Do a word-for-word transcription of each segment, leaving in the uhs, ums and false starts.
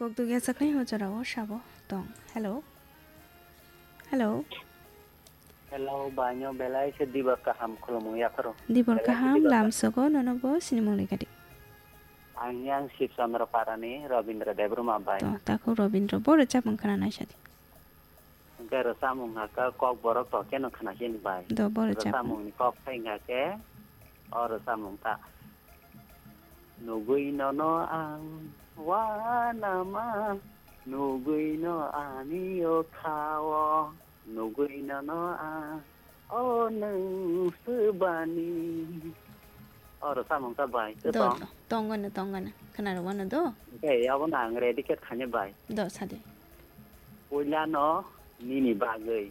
Kok dugya saknai o jorao sabo tong. Hello. Hello. Hello, banyo belai se dibor kaham khulumung yapharo. Dibor Belai se kaham dibor kaham. Lamsogo nono bo sinimung ni gadi. Ang yang Sib Chandra Parani Robindra Debbarma bai. To, takhuk Robindra, bo rwchapmung khna naisadi. Hwnkhe rwchapmung hakhe kok borok to keno khna khe bai. Do, bo rwchapmung. Rwchapmung ni kok khai hakhe o rwchapmung ta. Nugui nono ang wanama, nugui no ani o khao, nugui nono ang o nwng swbani. O rwchapmung ta bai, tei Do, tong? Do, tongwano, tongwano. Khna rwano do? Hwnkhe, abono ang ready khe thani bai. Do, sadi. Puila no nini bagwi.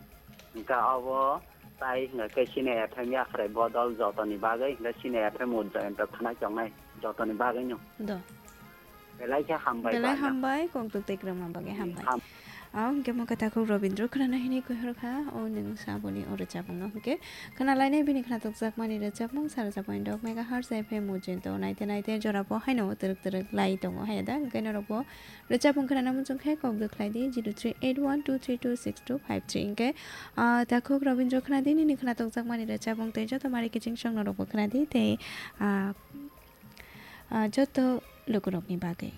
Hwnkhe obo tai hwnkhe Sine F M yakhrai bodol jotoni bagwi, hwnkhe Sine F M o joyonto khna chongnai jotoni bagwi no. Do. Belai khe hambai Belai bai no. Hambai, kok duk tei kwrwngma bagwi hambai. Ham- Ang hwnkhe mo khe takhuk Robindra khna hini kuhur kha, o nwng saboni o rwchapmung no hwnkhe khna lainai bini khna tokjakmani rwchapmung sara japani dok megahertz F M o joyonto naite naite jora bo haino twrwk twrwk lai tongo haya da, hwnkhe norok bo rwchapmung khna muchung khe kok duk khlai di zero three eight one two three two six two five three hwnkhe, ah, takhuk Robindra khna di nini khna tokjakmani rwchapmung tei joto mari kiching song norok bo khna di tei, ah, ah, joto lukurokni bagwi.